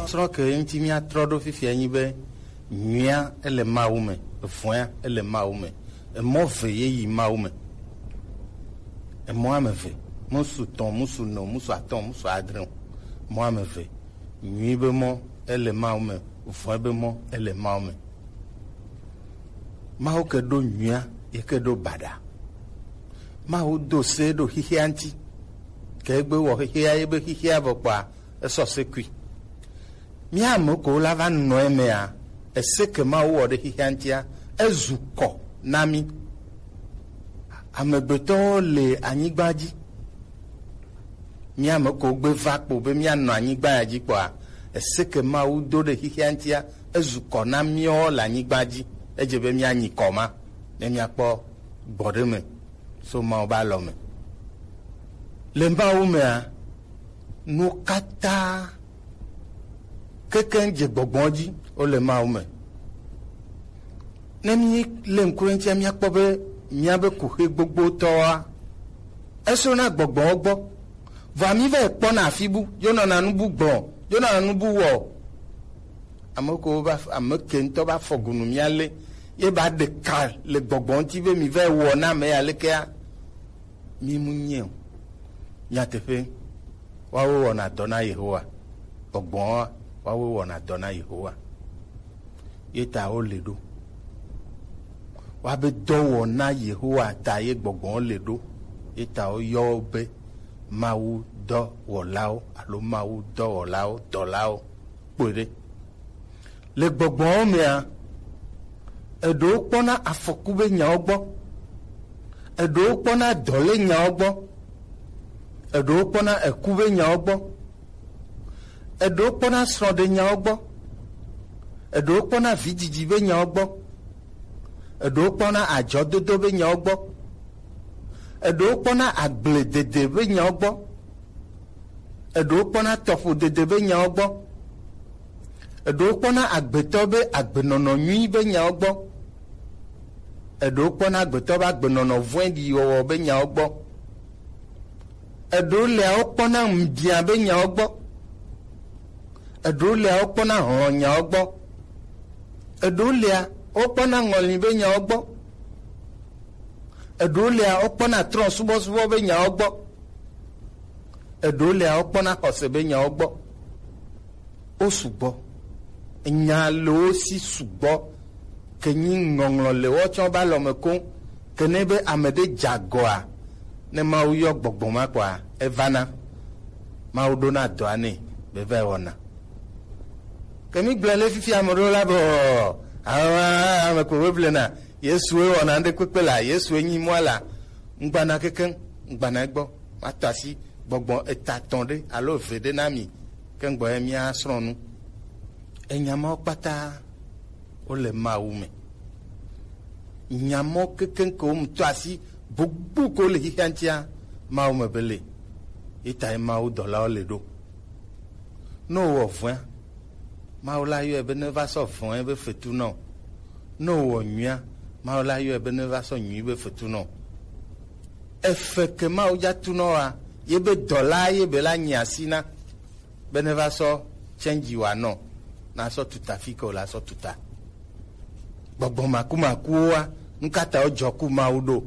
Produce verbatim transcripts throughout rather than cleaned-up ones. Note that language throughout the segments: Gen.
Srɔ̃ ke ŋuti míatrɔ ɖo fifia nyi be nyuia ele Mawu me, vɔ̃a ele Mawu me, emɔ ve ye yi Mawu me. Emɔ ame eve, musu tɔn, musu ene o, musu atɔ̃, musu adre o. Mɔ ame eve. Nyui be mɔ ele Mawu me, vɔ̃e be mɔ ele Mawu me. Mawu ke ɖo nyuia, ye ke ɖo baɖa. Mawu do se ɖo xixia ŋuti. Ke egbe wɔ xixia, ye be xixia vɔ kpɔa, esɔ se kui. Mía ame kewo la va nɔ emea, ese ke Mawu wɔ ɖe xixia ŋutia, ezu kɔ na mí. Amegbetɔwo le anyigba dzi. Mía ame kewo gbe va kpo be míanɔ anyigba ya dzi kpɔa, ese ke Mawu do ɖe xixia ŋutia, ezu kɔ na míawo le anyigba dzi. Edze be míanyi kɔ ma, ne míakpɔ gbɔ ɖe me so Mawu be alɔ me. Le Mawu mea, nu katã kekeŋ dze gbɔgbɔ dzi wole Mawu me. Ne mílé ŋku ɖe eŋutia, míakpɔ be míabe kuxi gbogbotɔwoa, esrɔ̃na gbɔgbɔwo gbɔ. Vɔa mí va yi kpɔna afi bu, yonɔna nu bu gbɔ, yonɔna nu bu wɔ. Ame kewo va, ame ke ŋutɔ va fɔ gu nu mía lé, ye ba ɖe ka le gbɔgbɔ ŋuti be mi va yi wɔ na ame ya lekea, mi mu nyiɛ o. Nyateƒe, woawo wɔna dɔ na Yehowa. Gbɔgbɔa, woawo wɔna dɔ na Yehowa. Ye ta wo le ɖo. Woabe dɔwɔna Yehowa ta ye gbɔgbɔ le ɖo. Ye ta woyɔ wo be Mawu dɔwɔlawo alo Mawu dɔwɔlawo, dɔlawo. Kpɔe ɖe. Le gbɔgbɔwo mea, eɖewo kpɔna afɔku be nyawo gbɔ, eɖewo kpɔna dɔle nyawo gbɔ, eɖewo kpɔna eku be nyawo gbɔ, eɖewo kpɔna srɔ̃ɖenyawo gbɔ, eɖewo kpɔna vidzidzi be nyawo gbɔ, eɖewo kpɔna adzɔdodo be nyawo gbɔ, eɖewo kpɔna agbledede be nyawo gbɔ, eɖewo kpɔna tɔƒodede be nyawo gbɔ, eɖewo kpɔna agbetɔ be agbenɔnɔ nyui be nyawo gbɔ, eɖewo kpɔna agbetɔ be agbenɔnɔ vɔ̃ɖi wɔwɔ be nyawo gbɔ, eɖewo lea wokpɔna ŋubiã be nyawo gbɔ, eɖewo lea wokpɔna hlɔ̃nyawo gbɔ, eɖewo lea wokpɔna ŋɔli be nyawo gbɔ, eɖewo lea wokpɔna trɔ̃subɔsubɔ be nyawo gbɔ, eɖewo lea wokpɔna xɔse be nyawo gbɔ. Wo sugbɔ. Enya le wo si sugbɔ. Ke nyi ŋɔŋlɔ le woawo tsã wobe alɔme koŋ. Ke ne be ame ɖe dze agɔa, ne Mawu yɔ gbɔgbɔ ma kpɔa, evana. Mawu ɖona dɔa nɛ be va yi wɔna. Ke mi gblɔe le fifi ame ɖewo la be, ɔ, ame, ame ko be blena, Yesue wɔna ŋɖe kpekpe la, Yesue nyi mɔa la, ŋgbana kekeŋ, ŋgbana egbɔ, matɔ asi gbɔgbɔ eta tɔn ɖe alo eve ɖe na mi, ke ŋgbɔ ye mia srɔ̃ nu. Enya mawo kpata wole Mawu me. Nya mawo kekeŋ ke wo mu tɔ asi gbogbo ke wo le xixia ŋutia, Mawu me be le. Ye ta ye Mawu dɔlawo le ɖo. Ne wowɔ vɔ̃a, Mawu la yɔe be ne va sɔ vɔ̃e be fetu nɔ. Ne wowɔ nyuia, Mawu la yɔe be ne va sɔ nyui be fetu nɔ. Efe ke Mawu dza tu nɔ wa, ye be dɔla ye be la nyi asi na, be ne va sɔ tsɛnji wa nɔ, na sɔ tuta fi ke wòle asɔ tuta. Gbɔgbɔ makumakuwoa, nu ka ta wodzɔ ku Mawu ɖo?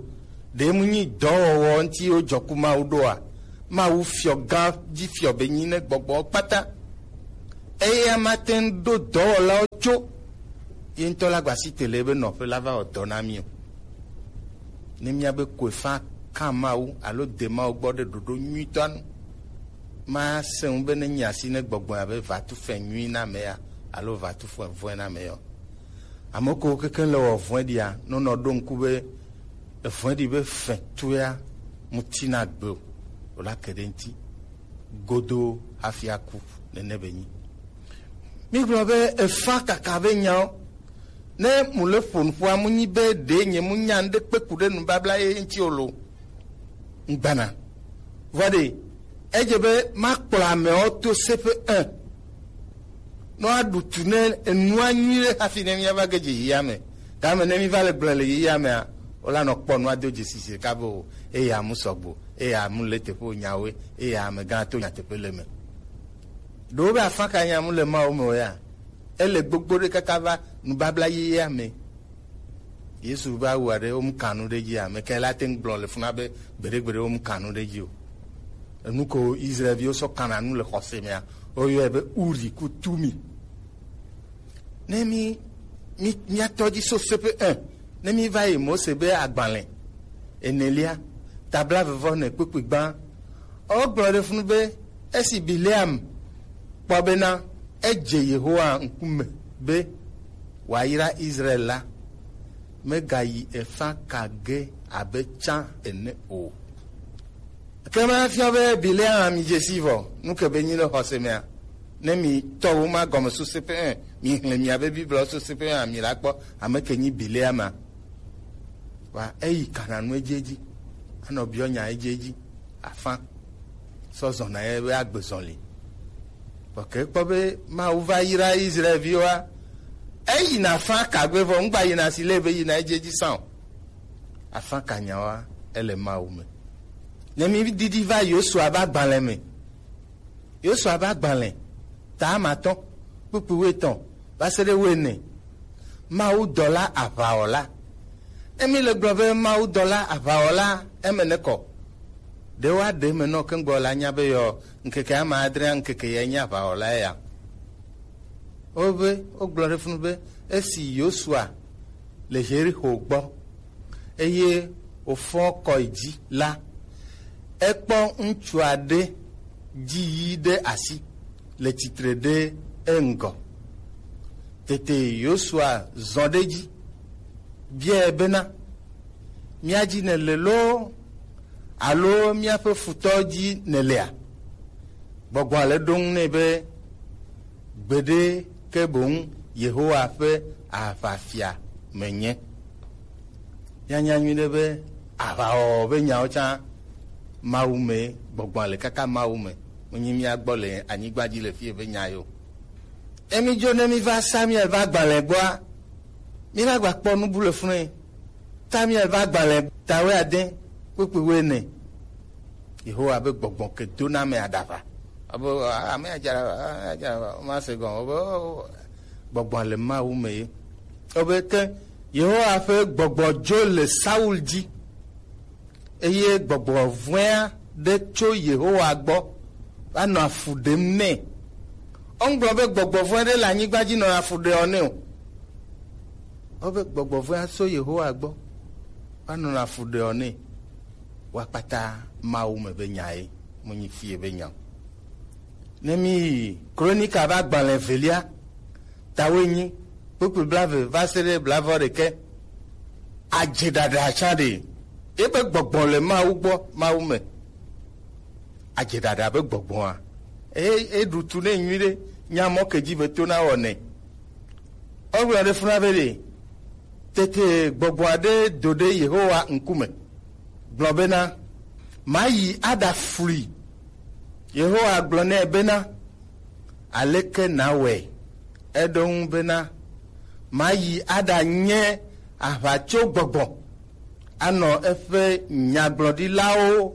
Ɖe mu nyi dɔwɔwɔ ŋuti wodzɔ ku Mawu ɖoa? Mawu fiɔ gã dzi fiɔ be nyi ne gbɔgbɔwo kpata. Eya mate ŋu ɖo dɔwɔlawo tso ye ŋutɔ la gbasi te le ebe nɔƒe la va wɔ dɔ na mí o. Ne míabe koefa ka Mawu alo de Mawu gbɔ ɖe ɖoɖo nyuitɔa nu, masẽ ŋu be ne nyi asi ne gbɔgbɔe abe vatu fɛ nyui na ame ya alo vatu fɛ vɔ̃e na ame ya o. Ame kewo kekeŋ le wɔ vɔ̃ɖia, nonɔ ɖo ŋku be evɔ̃ɖi be fɛtua mu tina gbe o, wòla ke ɖe ŋuti godoo hafi aku. Nene be nyi. Mígblɔ be efa kaka be nyawo. Ne mu le ƒo nuƒoa, mu nyi be ɖe nye mu nya ŋɖe kpe ku ɖe nubabla ye ŋuti o lo. Ŋgbana. Vɔ ɖe, edze be makplɔ amewo to seƒe un. Ne woaɖu tu ne enua nyui ɖe hafi ne míava ge dze yiyame. Tame ne míva le gblẽ le yiyamea, wola nɔ kpɔ nua do dzesi si ɖeka be o, eya mu sɔgbo, eya mu le teƒe o nyawoe, eya amegã to nyateƒe le me. Ɖewo be afã ka nya mu le Mawu me o ya. Ele gbogbo ɖe kaka va nubabla yeyea me. Yesu va wu aɖe wo mu kanu ɖe dzi ame ke la te ŋu gblɔ le funa be gbeɖegbeɖe wo mu kanu ɖe dzi o. Enu ko Israelviwo sɔ kana nu le xɔse mea, woyɔe be Uri ku Tumi. Ne mi mi miatɔ dzi so sepe un, ne mi va yi Mose be agbalẽ enelia, tabla vevɔ ne kpukpui gbã. Wogblɔ ɖe funu be esi Bileam kpɔ bena edze Yehowa ŋkume be wòayra Israel la, megayi efã ka ge abe tsã ene o. Ke ma fiɔ be Bileam mi dze si vɔ, nu ke be nyi le xɔse mea, ne mi tɔwo ma gɔme so sepe un, mi hlẽ mia be Biblia so sepe un, mi la kpɔ ame ke nyi Bileam ma. Wa eyi kana nu edzi edzi, anɔ biɔ nya edzi edzi, afã sɔ zɔna ye be agbe zɔli. Vɔ ke kpɔ be Mawu va yra Israelviwoa, eyi na afã ka gbe vɔ ŋgba yina si le be yina edzi edzi sã o. Afã ka nyawoa, ele Mawu me. Ne mi didi va Yosua be agbalẽ me, Yosua be agbalẽ ta amatɔ̃ kpukpui wuietɔ̃ va se ɖe wuiene. Mawudɔla aʋawɔla. Ne mi le gblɔ be mawudɔla aʋawɔla, eme ne kɔ. Ɖe woaɖe eme nɔ keŋgbɔ la nya be yɔ ŋkeke ama adrea ŋkeke ya nye aʋawɔla ya. Wobe wogblɔ ɖe funu be esi Yosua le Yerixo gbɔ eye wòfɔ kɔ yi dzi la, ekpɔ ŋutsu aɖe dzi yi ɖe asi le tsitre ɖe eŋgɔ. Tete Yosua zɔ ɖe edzi biae bena, mía dzi nèle loo alo míaƒe futɔwo dzi nèlea? Gbɔgbɔa le ɖo ŋu nɛ be, gbeɖe ke boŋ Yehowa ƒe aʋafia menye. Míanya nyuiɖe be aʋawɔwɔ be nyawo tsã Mawu me gbɔgbɔa le kaka Mawu me, menye mía gbɔ le anyigba dzi le fie be nya yo. Ne mídzo ne míva Samuel ƒe agbalẽ gbɔa, míva gba kpɔ nu bu le funu. Samuel ƒe agbalẽ ta wuiade kpukpui wuiene. Yehowa be gbɔgbɔ ke dona ame aɖaʋa. Abe ame adza ame adza ma se gɔn. Obe gbɔgbɔ le Mawu me ye. Obe ke Yehowa ƒe gbɔgbɔ dzo le Saul dzi. Eye gbɔgbɔ vɔ̃a ɖe tso Yehowa gbɔ va nɔ afu ɖem nɛ. Wogblɔ be gbɔgbɔ vɔ̃ ɖe le anyigba dzi nɔ afu ɖe ɔ nɛ o. Wobe gbɔgbɔ vɔ̃a tso Yehowa gbɔ va nɔ afu ɖe ɔ nɛ. Wa kpata Mawu me be nya ye, menyi fie be nya o. Ne mi yi Kronika ƒe agbalẽ evelia, tawoenyi, kpukpui blaeve va se ɖe blaeve ɖekɛ. Adze ɖaɖa tsã ɖe. Ebe gbɔgbɔ le Mawu gbɔ, Mawu me. Adze ɖaɖa be gbɔgbɔa. E, eɖu tu nɛ nyuiɖe, nya mɔ ke dzi be to na wɔ nɛ. Wogblɔ ɖe funa be ɖe, tete gbɔgbɔ aɖe do ɖe Yehowa ŋkume, gblɔ bena, mayi aɖaflui. Yehowa gblɔ nɛ bena, aleke nawɔe? Eɖo ŋu bena, mayi aɖanye aʋatsogbɔgbɔ anɔ eƒe nyagblɔɖilawo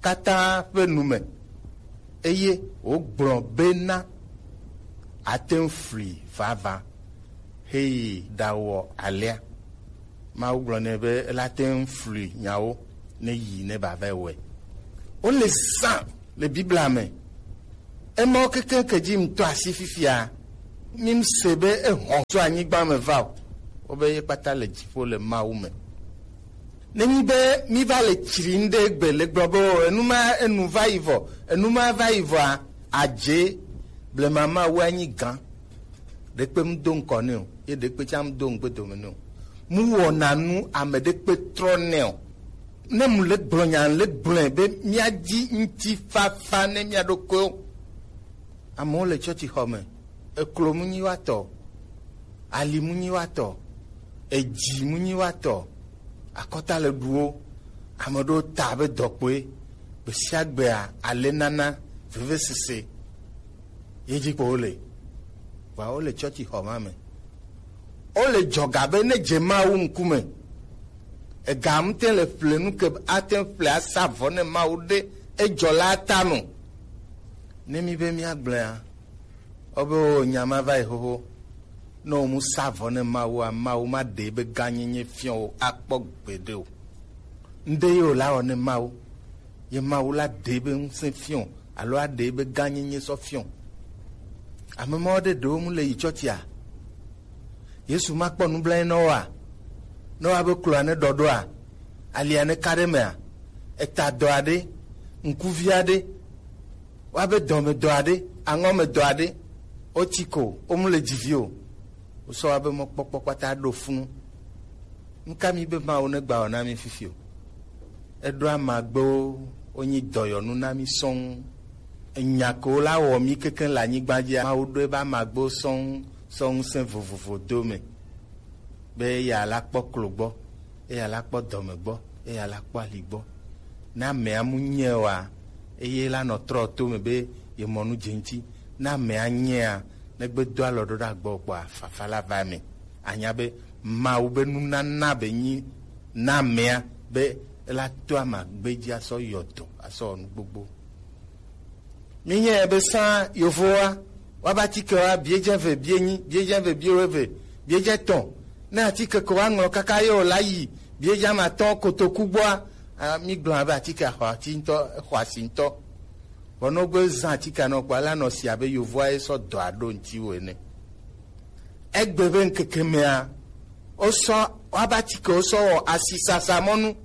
katã ƒe nu me, eye wògblɔ bena, ate ŋu flui vavã heyi ɖawɔ alea. Mawu gblɔ nɛ be ela te ŋu flui nyawo ne yi ne ba va wɔe. Wole zã le Biblia me. Emawo kekeŋ ke dzi ŋutɔ asi fifia, mi se be ehɔn tso anyigba me va o. Wobe ye kpata le dziƒo le Mawu me. Nenyi be mi va le tsri ŋɖe gbe le gblɔ be o, enu ma enu va yi vɔ, enu ma va yi vɔa, adze blema Mawu anyi gã. Ɖekpe mu do ŋkɔ nɛ o, ye ɖekpe tsã mu do ŋgbe dome nɛ o. Mu wɔna nu ame ɖekpe trɔ nɛ o. Ne mu le gblɔ nya le gblɔe be mía dzi ŋutifafa ne mía ɖokuiwo. Amewo le tsɔtsixɔ me, eklo mu nyi wa tɔ, ali mu nyi wa tɔ, edzi mu nyi wa tɔ, akɔta le ɖu wo, ame ɖewo ta abe dɔkpoe, gbe sia gbea ale nana vevesese ye dzi ko wole. Vɔa wole tsɔtsixɔ ma me. Wole dzɔga be ne dze Mawu ŋkume, ega ŋute le ƒle nu ke ate ŋu ƒle asa vɔ ne Mawu ɖe edzɔ la ta nu. Ne mi be míagblɔea, Obe o nya ma va yi xoxo. Ne o mu sa vɔ ne Mawu a, Mawu ma ɖe ebe gãnyenye fiɔ o akpɔ gbeɖe o. Ŋɖe ye o la wɔ ne Mawu. Ye Mawu la ɖe ebe ŋusẽ fiɔ alo aɖe ebe gãnyenye sɔ fiɔ. Ame mawo ɖe ɖewo mu le yi tsɔtsia. Yesu ma kpɔ nublanyi nɔ wa. Ne wa be kloa ne ɖɔɖoa, alia ne ka ɖe mea, eta dɔ aɖe, ŋkuvi aɖe, wa be dɔme dɔ aɖe, aŋɔ me dɔ aɖe, o tsi ko, o mu le dzivi o. Wosɔ wa be mɔkpɔkpɔ kpata ɖo funu. Nuka mi be Mawu ne gba wɔ na mi fifi o? Eɖo amagbewo, wonyi dɔyɔnu na mi sɔŋ. Enya ko la wɔ mi kekeŋ le anyigba dzia, Mawu ɖo ebe amagbewo sɔŋ sɔ ŋusẽ vovovo do me, be eya la kpɔ klo gbɔ, eya la kpɔ dɔme gbɔ, eya la kpɔ ali gbɔ. Ne amea mu nyɛ oa, eye la nɔ trɔ to me be ye mɔ nu dze ŋuti. Ne amea nyɛa, ne gbe do alɔ ɖo ɖe agbɔ kpɔa, fafa la va me. Anya be Mawu be nunana be nyi na amea be la to amagbe dzi asɔ yɔ dɔ, asɔ wɔ nu gbogbo. Mi nyɛ be sã yovowa, wa ba atike wa bie dze ve bie nyi, bie dze ve bie weve, bie dze tɔn. Ne atike ko wa ŋlɔ kaka ye o la yi bie dze ama tɔn kotoku gbɔa, a, mi gblɔ be atike xɔ asi ŋutɔ, xɔ asi ŋutɔ. Vɔ ne wogbe zã atike nɔ kpɔa, la nɔ si abe yovoa ye sɔ dɔ aɖo ŋuti wo ene. Egbe be ŋkeke mea, wosɔ, woaba atike wosɔ wɔ asisasa mɔnu.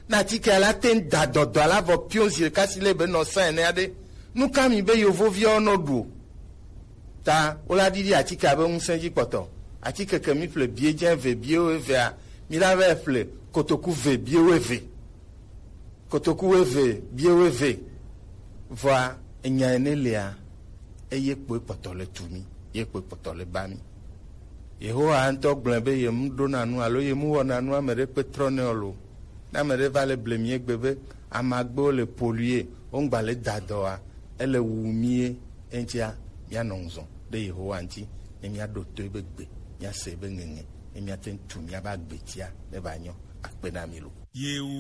Ne atike la te ŋu da dɔdɔ la vɔ pion zi ɖeka si le be nɔ sã ene aɖe. Nu ka mi be yovoviawo nɔ ɖu o? Ta wola ɖiɖi atike abe ŋusẽ dzi kpɔtɔ. Atike ke mi ƒle bie dze eve, bie wo evea, mi la vɛ ƒle kotoku ve, bie wo eve. Kotoku wo eve, bie wo eve. Vɔa, enya ene lea, eye kpoe kpɔtɔ le tu mi, ye kpoe kpɔtɔ le ba mi. Yehowa ŋutɔ gblɔe be ye mu ɖona nu alo ye mu wɔna nu ame ɖe kpe trɔ nɛ o lo. Ne ame ɖe va le ble mi egbe be amagbewo le polluer, wo ŋgba le da dɔ wa, ele wu mi ye, eŋutia, míanɔ ŋzɔ ɖe Yehowa ŋuti, ne míaɖo to ebe gbe, míase ebe ŋeŋe, ne míate ŋu tu míabe agbetia ne va nyɔ. Akpe na mi lo. Yewu